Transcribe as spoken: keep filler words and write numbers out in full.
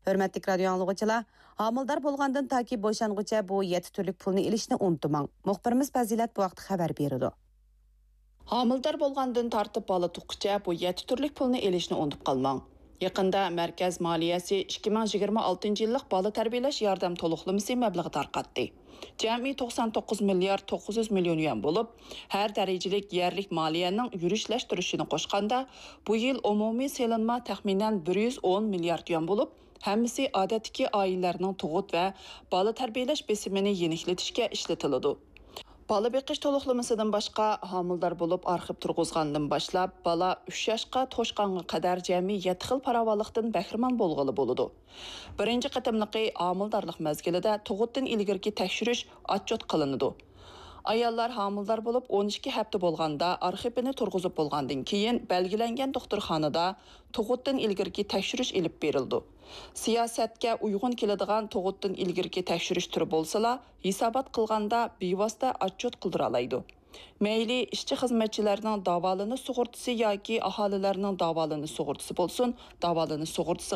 ھۆرمەتلىك رادىيو ئاڭلىغۇچىلار، ھامىلىدار بولغاندىن تاكى بوشانغۇچە بۇ يەتتە تۈرلۈك پۇلنى ئېلىشنى ئۇنتۇماڭ. مۇخبىرىمىز پەزىلەت بۇ ھەقتە خەۋەر بېرىدۇ. ھامىلىدار بولغاندىن تارتىپ بالا تۇغقۇچە بۇ يەتتە تۈرلۈك پۇلنى ئېلىشنى ئۇنتۇپ قالماڭ. يېقىندا مەركەز مالىيەسى ئىككى مىڭ يىگىرمە ئالتىنچى يىللىق بالا تەربىيەلەش ياردەم تولۇقلىمىسى مەبلىغى تارقاتتى. جەمئىي توقسان توققۇز مىليارد توققۇز يۈز مىليون يۈەن بولۇپ، ھەر دەرىجىلىك يەرلىك مالىيەنىڭ يۈرۈشلەشتۈرۈشىنى قوشقاندا، بۇ يىل ئومۇمىي سېلىنما تەخمىنەن بىر يۈز ئون مىليارد يۈەن بولۇپ، ھەممىسى ئادەتتىكى ئائىلىلەرنىڭ تۇغۇت ۋە بالا تەربىيەلەش بېسىمىنى يېنىكلىتىشكە ئىشلىتىلىدۇ. بالا بېقىش تولۇقلىمىسىدىن باشقا، ھامىلىدار بولۇپ ئارخىپ تۇرغۇزغاندىن باشلاپ، بالا ئۈچ ياشقا توشقانغا قەدەر جەمئىي يەتتە خىل پاراۋانلىقتىن بەھرىمەن بولغىلى بولىدۇ. بىرىنچى قېتىملىقى ھامىلىدارلىق مەزگىلىدە تۇغۇتتىن ئىلگىرىكى تەكشۈرۈش ئاتچوت قىلىنىدۇ. ئاياللار ھامىلىدار بولۇپ ئون ئىككى ھەپتە بولغاندا، ئارخىپىنى تۇرغۇزۇپ بولغاندىن كېيىن، بەلگىلەنگەن دوختۇرخانىدا تۇغۇتتىن ئىلگىرىكى تەكشۈرۈش ئېلىپ بېرىلىدۇ. سىياسەتكە ئۇيغۇن كېلىدىغان تۇغۇتتىن ئىلگىرىكى تەكشۈرۈش تۈرى بولسىلا، ھېسابات قىلغاندا بىۋاسىتە ئاتچوت قىلدۇرالايدۇ. مەيلى ئىشچى-خىزمەتچىلەرنىڭ داۋالىنىش سۇغۇرتىسى ياكى ئاھالىلەرنىڭ داۋالىنىش سۇغۇرتىسى بولسۇن، داۋالىنىش سۇغۇرتىسى